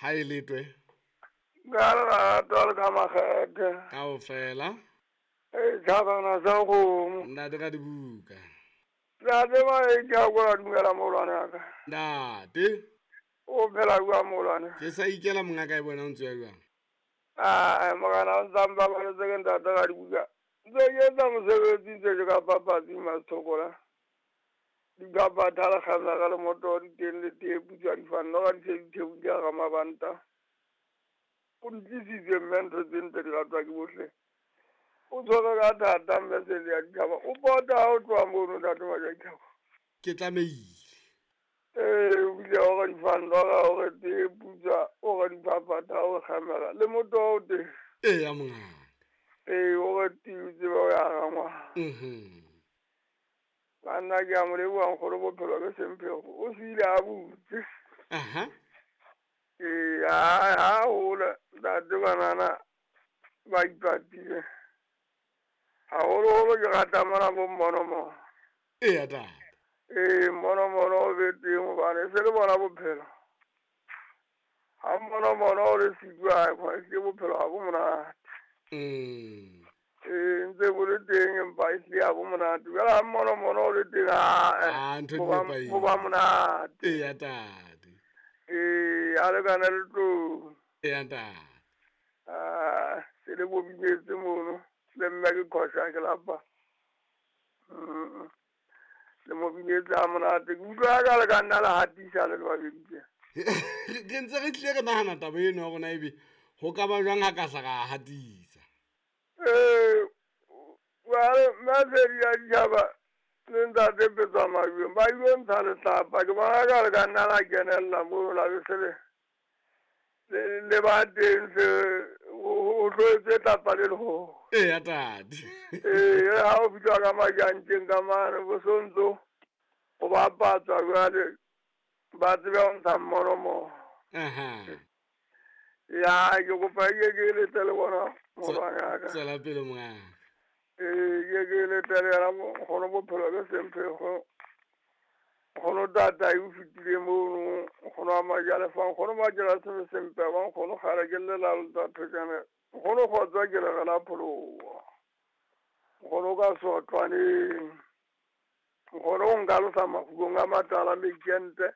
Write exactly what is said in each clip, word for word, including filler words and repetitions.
Ha e letwe. Ka lerato le ka makgethe. Kaofela. E tjhabana sa kgomo. Ntate ka dibuka. Ntate ba e ke a kola dumela moholwane wa ka. Ntate. O phela jwang moholwane? Ke sa ikela mongaka e bona o ntse ya jwang? Ah, morena o ntsa mpabaletse ke ntate ka dibuka. Ntse ke etsa mosebetsi ntse ke ka papatsi Mathokola. Dipapatha le kgamela le moto di teng le tee putswa di fanno ga di se di theohile ga mabanta. O ntlisitse mme ntho tse ntle di ratwa ke bohle. O tshwere ka thata mme sele ya ditjhaba. O pota ha o tloha mono ntate Majaditlhako. Ke tlamehile. Ee, o bile o re di fanno ga o re tee putswa, o re dipapatha, o re kgamela le moto o teng. Eya mongaka. Ee, o re tiu tsebe o ya rangwa. Mhm. Banna ke a mo leboha nkgono bophelo ke semphego. O siile a butse. Aha. Ee, ha ha hola ntate banana ba ipatile. Haholoholo ke rata mona bo mmonomono. Eya tate. Ee, mmonomono o be teng hobane se le bona bophelo. Ha mmonomono o le siko a ke bophelo ha bo monate. Mm. Ee, ntse bo le teng empa e hlile ha bo monate. Jwale ha mmonomono o le teng, Ah, ntho di bo ba nepahetse. bo ba monate. Eya tate. Ee, ha lekana le tlou. Eya ntate. Ah, se le bo bibetse mono. Le mme ke qhosha ke lapa. Mm. Le mo binetse ha monate. Ke utlwa ka le ka nna la hatisa le le babedi tje. Ke ntse re tlile re nahana taba eno ya rona ebe ho ka ba jwang ha ka hla ra hatisa. Ee, jwale Masedi ya ditjhaba le ntate Petswa Majweng ba ilo ntsha letlapa. Ke bona ka le ka nna la kenella mono la be se le le le ba teng se ho tlo etswe tlapa le leholo. Eya tate. Ee, ha o fihla ka majantjeng ka mane bo sontso ho bapatswa jwale ba tsebe ho ntsha mmonomono. Aha. Ya, ke kopa ke ke letle le bona moholwane wa ka. Tswela pele mongaka. Ee, ke ke letle le yena nkgono bophelo ke semphego. Nkgono tata o fetile mono, nkgono wa Majalefa, nkgono Majela sebe sempe ba nkgono kgale ke lelalo tsa thotjana. Nkgono kgotsa ke le re la pholoha. Nkgono ka sotlwaneng. Nkgono o nkalosa mafukong a matala mekente.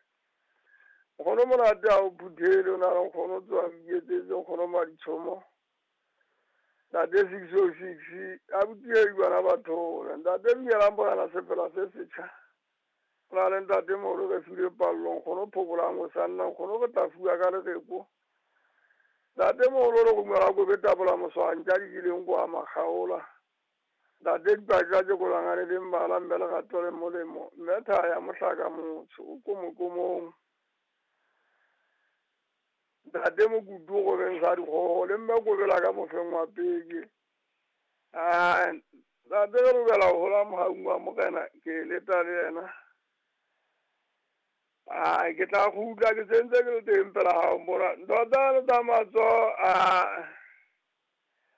Nkgono monate ha o phuthele o na le nkgono o tswa iketsetse nkgono Maditshomo. Ntate six oh six, abuti e bana ba thola. Ntate Mnyela Morena sepela se setjha. O na le ntate moholo re filwe pallo, nkgono phokolang o sa nna, nkgono re tla fuwa ka lereko. Ntate moholo re romela ko betabola moswantja di kileng kwa makgaola. Ntate dipatja tse kolangane le mmala mme lerato le molemo. Mme thaya mohlaka motsho o ko mokomong. Ntate Mokutu o robeng sa dikgoho le mme kobela ka mofeng wa peke. Ah, ntate re lokela ho hola mohaung wa Morena ke leta le yena. Ah, ke tla kgutla ke sentse ke le teng pela hao mona. Ntho tsa le tsa matsoho, ah,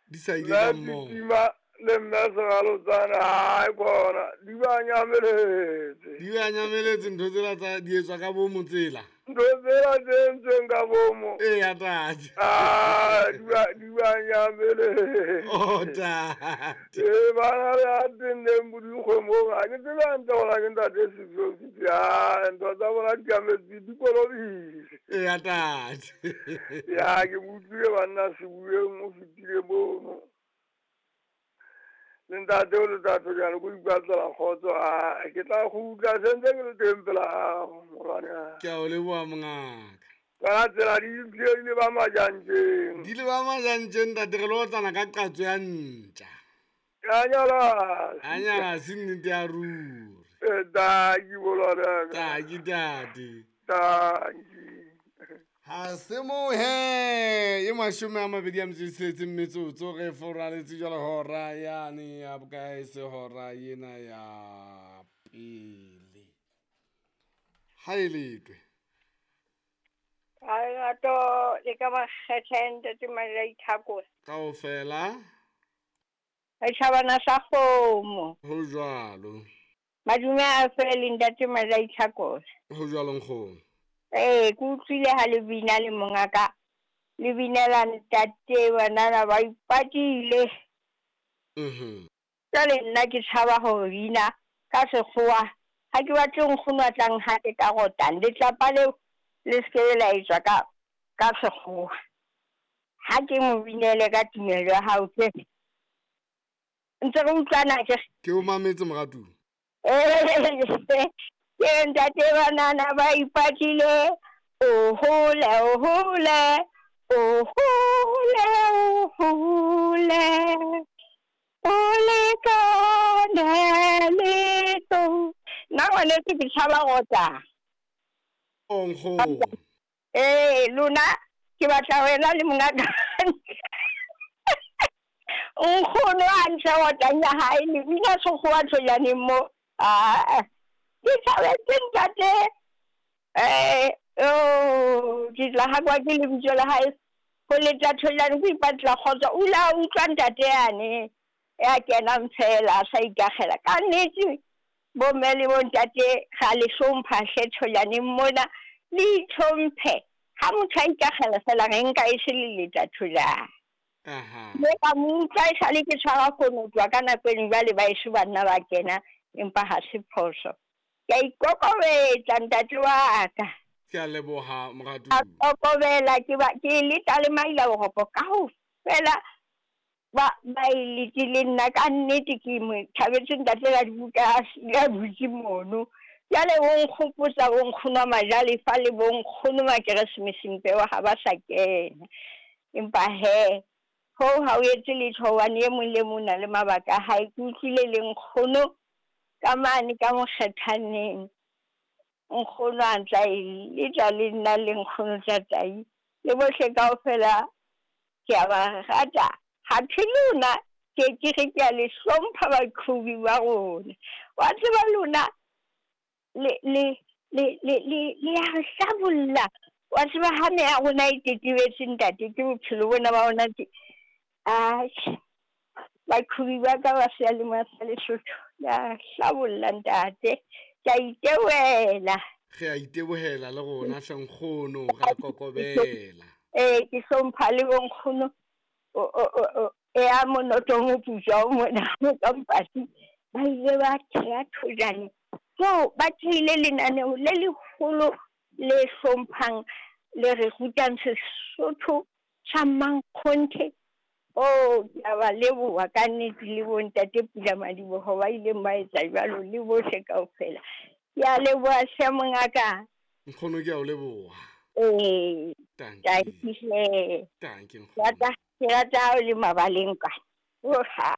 Di sa ile mme ka mmoho. Titima le mme Seralotsane, hai kona, di ba nyameletse. Di ba nyameletse ntho tsela tsa di etswa ka bomo tsela. Ntho tsela tse entsweng ka bomo. Eya tate. Ah, di ba, di ba nyameletse. Oh tate. Ee, bana le a tenneng bodikgwemong, ha ke tsebe hantle hore ke ntate six oh six. Ah, ntho tsa bona di tlametse di kolobile. Eya tate. Ya, ke mo utlwile banna sebueng o fetile mono. Le ntate o le tatho jalo ko ipatlela kgotso, ah, ke tla kgutla sentse ke le teng pela hao morwane wa ka. Ke a o leboha mongaka. Ka tsela di tlile di le ba majantjeng. Di le ba majantjeng ntate re lo otlana ka qatso ya ntja. Ya nyala. A nyala se nnete ya ruri. Eh, tanki molwane wa ka. Tanki tate. Tanki. Ha se mohe e mashome a mabedi a metso e tsheletseng metsotso re foraletse jwale hora yane ya bokae se hora ena ya pele. Ha e letwe. Ha lerato le ka makgethe ntate Majaditlhako. Kaofela. Re tjhabana sa kgomo. Ho jwalo. Madume a fele ntate Majaditlhako. Ho jwalo nkgono. Ee, ke utlwile ha le bina le mongaka, le binela ntate banana ba ipatile. Mhm. Jwale nna ke tshaba ho bina ka sekgowa, ha ke batle nkgono a tlang hape ka rotang letlapa leo le se ke la etswa ka ka sekgowa. Ha ke mo binele ka tumelo ya hao ke ntse re utlwana ke. Ke o mametse moratuwa. Ke ntate banana ba ipatile, o hole o hole o hole o hole o lekane le tlo. Nna ngwaneso ke tshaba rota. O nkgono. Ee, lona ke batla wena le mongaka. Nkgono a ntshe rotang ya hae, le bina sekgowa thojaneng mo. Ah, ke thabetse ntate. Eh, oh, ke tla hakwa ke lebitso la hae. Ho leta thojane ko ipatla kgotso. O la utlwa ntate yane ya kenang fela a sa ikakgela. Ka nnete bomme le bontate ga le hlompha hle thojaneng mona, le itlhomphe. Ha motho a ikakgela fela re nka e se le leta thojane. Aha. Mme ka mo utlwa e sale ke tshwara konotswa ka nako eno, jwale ba eso banna ba kena, empa ha se phoso. Ke a ikokobetsa ntate wa ka. Ke a leboha moratuwa. A kokobela ke ba ke leta le maila boroko kaofela ba ba e letile nna ka nnete ke mo thabetse ntate ka dibuka ya butse mono. Jwale o nkgopotsa bo nkgono wa majalefa le bo nkgono wa Keresemese Mpewa ha ba sa kena. Empa he ho ha o etse letho hobane e mong le mong o na le mabaka a hae. Ke utlwile le nkgono ka mane ka mokgethaneng, nkgono a ntla e letla le nna le nkgono tatai le bohle kaofela ke a ba rata. Ha thwe lona ke ke re ke a le hlompha baqhobi ba rona. Wa tseba lona le le le le le le ya re hlabolla. Wa tseba ha meya ya rona e tetebetse ntate ke bophelo bona ba rona ke atjhe. Baqhobi ba ka ba seyalemoya sa Lesotho ya hlabolla ntate. Ke a itebohela. Re a itebohela le rona hle nkgono, ra kokobela. Ee, ke hlompha le bonkgono o o o e a monoto moputswa o mona ka mpati. Ba ile ba theha thojane. So ba thehile lenaneo le leholo le hlomphang le re rutang Sesotho sa mankgonthe. Oh, ke a ba leboha ka nnete le bontate Pula Madiboho ba ileng ba etsa jwalo le bohle kaofela. Ke a leboha hle mongaka. Nkgono ke a o leboha. Ee, Tanki. tanki hle. Tanki Ke nkgono. rata ke rata ha o le mabaleng ka. Oha.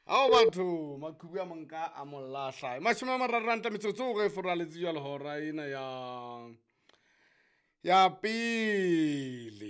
Ao batho, maqhubu a monka a mo lahla. Mashome a mararo a nta metsotso re foraletse jwale hora ena ya ya pele.